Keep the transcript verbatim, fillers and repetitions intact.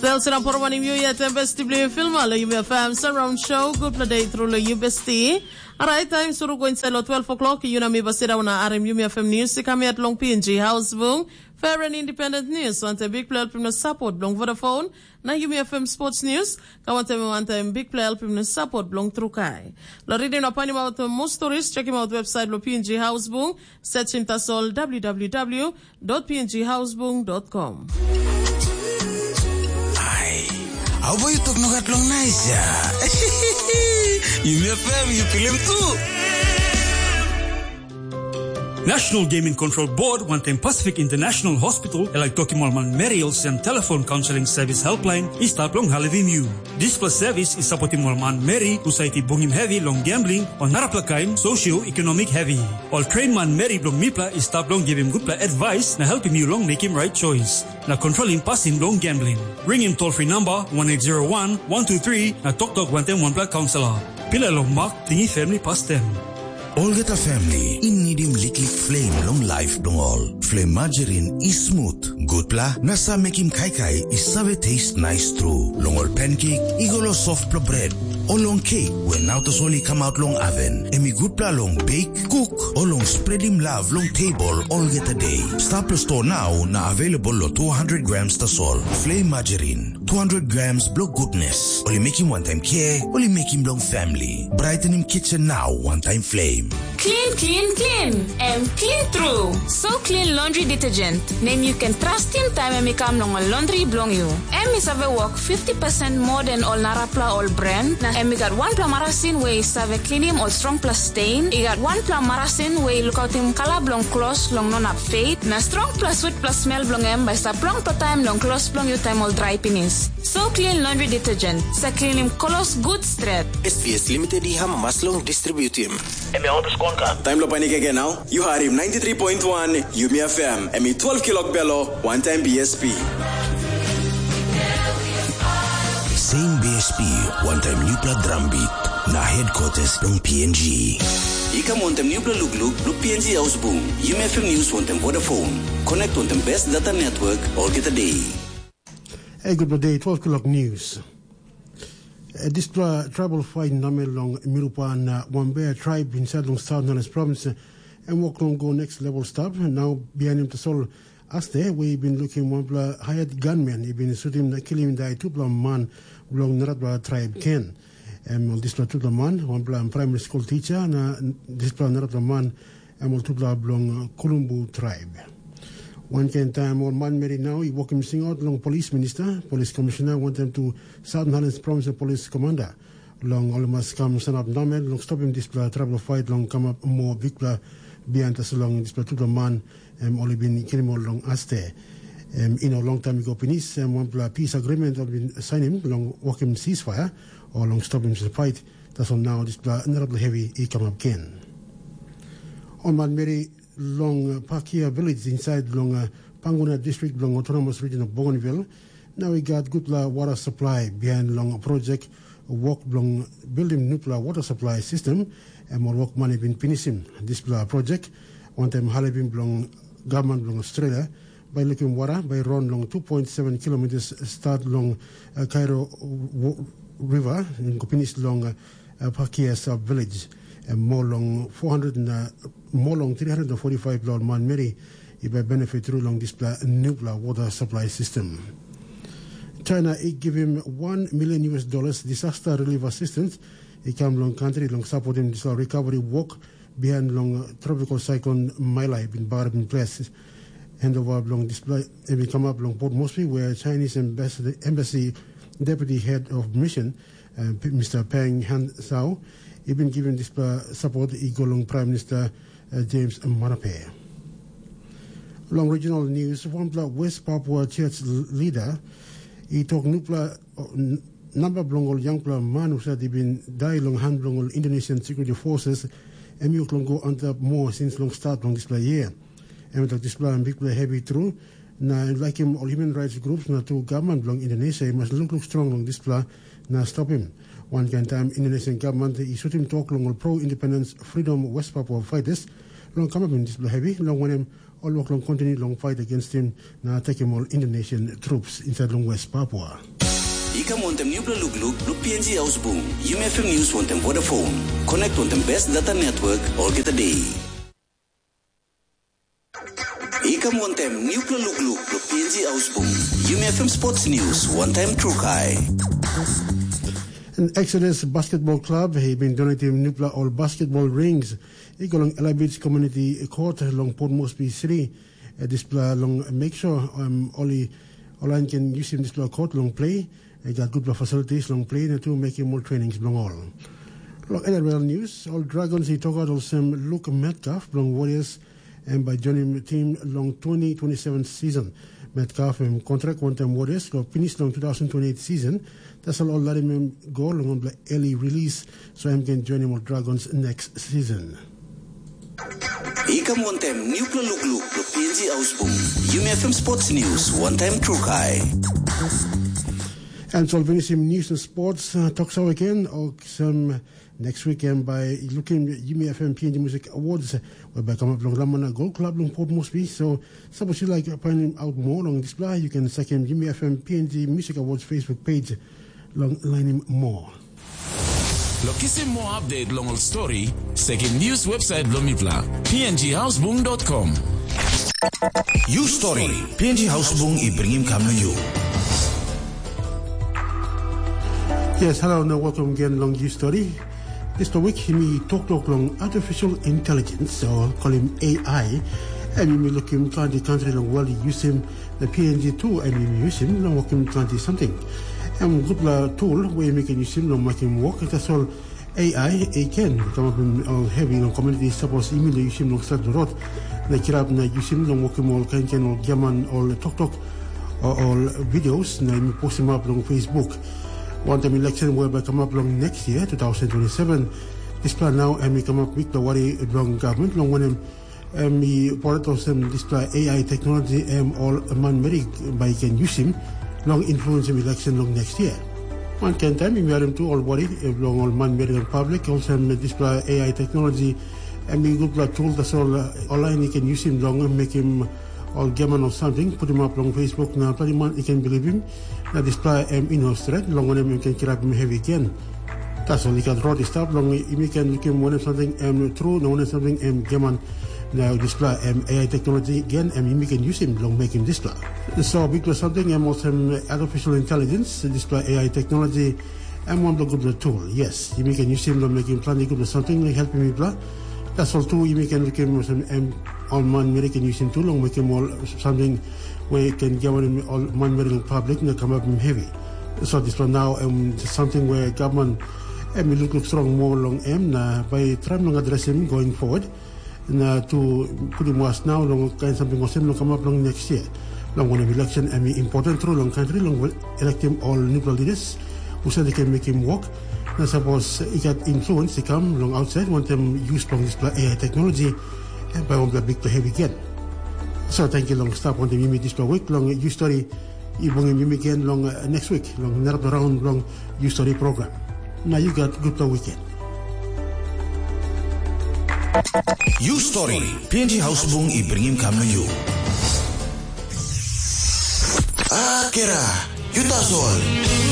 Sel sira poro wanim yu yet em besti bli filma lo yumi F M surround show. Good play day through lo yu besti. Alright, time suru go inside lo twelve o'clock. Yu na mi basira wana arim yumi F M news. Kami at long P N G house bung. Fair and independent news. Wante big play helping no support long Vodafone. Na yumi F M sports news. Ka wante mi wante big play helping no support long Trukai. Lo reading no panim out most stories. Check him out website lo P N G house bung. Search him tasol W W W dot P N G house bung dot com. Ai, au bai tok nogat long nais ya. Yumi F M, yu pilim tu. National Gaming Control Board wantaim Pacific International Hospital e laik tokim ol manmeri olsem telefon kaunseling servis helpline i stap long helpim yu. Dispela servis i sapotim ol manmeri husat i bungim hevi long gambling o narapela kain socio-economic hevi. Ol train manmeri bilong mipela i stap long givim gutpela advice na helpim yu long mekim right choice na kontrolim pasin bilong gambling. Ringim toll free number one eight zero one one two three na toktok wantaim wanpela kaunselor. Pilai long mak tingi family pastem. Olgeta family i nidim liklik flame long life bilong ol. Flame margarine i smooth, gutpela na sa mekim kaikai i save taste nice tru. Long ol pancake i go lo softpela bread, o long cake we nau tasol i come out long oven. Em i gutpela long bake, cook, o long spreadim love long table olgeta day. Stap lo store now na available lo two hundred grams tasol. Flame margarine, two hundred grams blo goodness. Oli making one time care, oli making long family. Brightening kitchen now, one time flame. Clean, clean, clean. Em clean true. So clean laundry detergent. Nem you can trust him time em i kam long ol laundry bilong you. Em i save work fifty percent more than ol narapla ol brand. Na em i gat wanpela marasin we i save cleanim ol strongpela stain. I gat wanpela marasin we i lukautim kala bilong klos long no nap fade. Na strongpela sweetpela smell bilong em bai stap longpela taim long klos bilong you time ol dry pinis. So clean laundry detergent. Sa cleanim klos good stret. S T S Limited i amamas long distributim. Em ya otus konka. Taim lo panik again now. You harim ninety-three point one Yumi F M. Em i twelve kilok belo, one time B S P. Same B S P, one time newpela drum beat. Na headquarters long P N G. I kam wantem newpela lukluk lo P N G Ausbung, Yumi F M News wantem Vodafone. Connect wantem best data network olgeta day. Hey, good day, twelve o'clock news. Eh, dispela tribal fight namel long Mirupa na Wambea tribe inside long South Nales province, eh, em wok long go next level stap. Now, behind him tasol Aste, we i bin lukim wanpela hired gunman i bin sutim na kilim dai tupela man bilong narapela tribe Ken. Em ol dispela tupela man, wanpela primary school teacher na dispela narapela man, em ol tupela bilong uh, Kulumbu tribe. Wankain taim ol manmeri nau i wokim singaut long polis minista, polis komishina wantaim tu Southern Highlands Province polis komanda. Long ol mas kam sanap namel long stopim dispela trabel fait long kamap moa bikpela bihain tasol long dispela tupela man em ol i bin kilim ol long aste. Em i no longtaim i go pinis em wanpela pis agreement ol bin sainim long wokim sisfaia o long stopim dispela fait, tasol nau dispela narapela hevi i kamap gen. Ol manmeri long Pakia Village inside long Panguna District bilong Autonomous Region of Bougainville, nau i gat gutpela wara supply behind long project wok bilong bildim nupela water supply system, em ol wokman i bin pinisim dispela project wantaim halivim bilong gavman bilong Australia, bai lukim wara bai ron long two point seven kilometers start long uh, Cairo River, go pinis long uh, Pakias Village, em mo long four hundred na mo long three hundred forty-five pela ol manmeri i bai benefit tru long dispela nupela water supply system. China i givim one million U S dollars disaster relief assistance i kam long country long supportim dispela recovery work behind long tropical cyclone Maila i bin bagarapim ples. Handover bilong dispela em i kamap long Port Moresby, where Chinese embassy, embassy deputy head of mission, uh, Mister Peng Han Sao, i bin givim dispela support i go long Prime Minister uh, James Marape. Long regional news, wanpela West Papua Church leader i tok nupela uh, namba bilong ol yangpela man husat i bin dai long han bilong ol Indonesian Security Forces, em i wok long go antap moa sins long stat long dispela year. Em i tok dispela em bikpela hevi tru, na em laikim ol human rights groups na tu gavman bilong Indonesia i mas lukluk strong long dispela na stopim. Wankain taim Indonesian gavman i sutim tok long ol pro-independence freedom West Papua fighters long kamapim dispela hevi, long wanem ol wok long kontinu long pait against him na tekim ol Indonesian troops inside long West Papua. I kam wantem nupela lukluk long P N G Hausbung, Yumi F M News wantem Vodafone. Connect wantem best data network olgeta day. I kam wantem nupela lukluk long P N G Hausbung, Yumi F M Sports News wantem Trukai. An Exodus Basketball Club i bin donatim nupela ol basketball rings i go long Ella Beach Community Court long Port Moresby City. Eh, dispela long make sure um, ol i ol lain ken yusim dispela court long play. I gat gutpela facilities long play na tu mekim ol trainings bilong ol. Long N R L News, ol Dragons i tokaut olsem Luke Metcalf bilong Warriors em bai joinim tim long twenty twenty-seven season. Metcalf em kontrak wantaim Warriors go pinis long two thousand twenty-eight season. Tasol ol larim em go long wanpela early release, so em ken joinim ol Dragons next season. I kam wantem nupela lukluk long P N G Hausbung, Yumi F M Sports News wantem Trukai. And so finisim news and sports uh, talk show again. Oksem next weekend by looking Yumi F M P N G Music Awards, whereby come up long Ramana Gold Club long Port Moresby. So suppose you like finding out more on this, you can check him Yumi F M P N G Music Awards Facebook page. Long lainim more. Lo kisim more update long ol story, sekim news website bilong mipela, P N G Hausbung dot com. You Story, P N G Hausbung i bringim kam na you. Yes, hello and welcome again long You Story. Dispela wik yumi toktok long artificial intelligence, o kolim A I, em yumi lukim planti kantri long world i yusim na P N G tu em yumi yusim long wokim planti samting. Em gutpela tool we yumi ken yusim long makim wok, tasol A I i ken kamapim ol hevi long komuniti sapos yumi no yusim long stret rot na kirap na yusim long wokim ol kain kain ol giaman ol toktok o ol videos na yumi postimap long Facebook. Wantaim election we bai kamap long next year, two thousand twenty-seven, dispela nau em i kamap bikpela wari bilong gavman, long wanem, em i poret olsem dispela A I teknologi em ol manmeri bai i ken yusim long influensim election long next year. Wankain taim yumi harim tu ol wari bilong ol manmeri long public, olsem dispela A I teknologi em i gutpela tool, tasol ol lain i ken yusim long mekim ol giaman ol samting putim up long Facebook na planti man i ken bilipim, na dispela em i no stret, long wanem, em ken kirapim hevi gen. Tasol i gat rot i stap long yumi ken lukim wanem samting em tru na wanem samting em giaman. Na dispela em A I teknologi gen em yumi ken yusim long mekim dispela. So bikpela samting em olsem artificial intelligence, dispela A I teknologi em wanpela gutpela tool. Yes, yumi ken yusim long mekim planti gutpela samting na helpim mipela. Tasol tu yumi ken lukim olsem em ol manmeri ken yusim tu long mekim ol samting we ken giamanim ol manmeri long public na kamapim hevi. So dispela nau em samting we gavman em i lukluk strong moa long em na bai traim long adresim going forward. Na tu putim was nau long kain samting olsem long kamap long next year. Long wanem, election em i important tru long kantri long elektim ol nupela leaders husat i ken mekim wok, na sapos i gat influence i kam long ausait wantaim yus bilong dispela A I teknologi, em bai wanpela bikpela hevi gen. So tenkyu long stap wantaim yumi dispela wik long yu stori. I bungim yumi gen long uh, next week long narapela raun bilong yu stori program. Na yu gat gutpela weekend. You Story, P N G Hausbung i bringim kam na you. Ah, kera, you tasol.